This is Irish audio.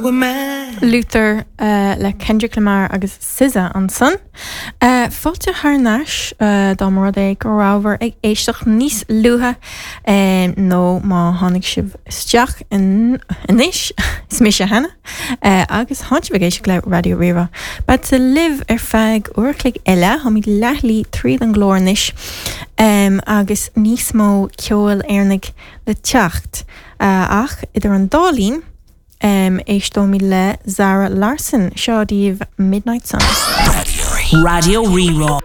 Who am I? Luther le Kendrick Lamar agus SZA ansan. Fáilte thar n-ais dá mba rud é go rabhabhair ag éisteacht níos luaithe nó má tháinig sibh isteach anois, is mise Hannah agus tánn sibh ag éisteacht le Raidió Rí-Rá. Beadsa libh ar feadh uair a chloig eile, táimid leathshlí tríd an gclár anois agus níos mó ceoil Éireannaigh le teacht. Ach idir an dá linn, éisteoimid le Zara Larsson. Seo daoibh Midnight Sun. Raidió Rí-Rá.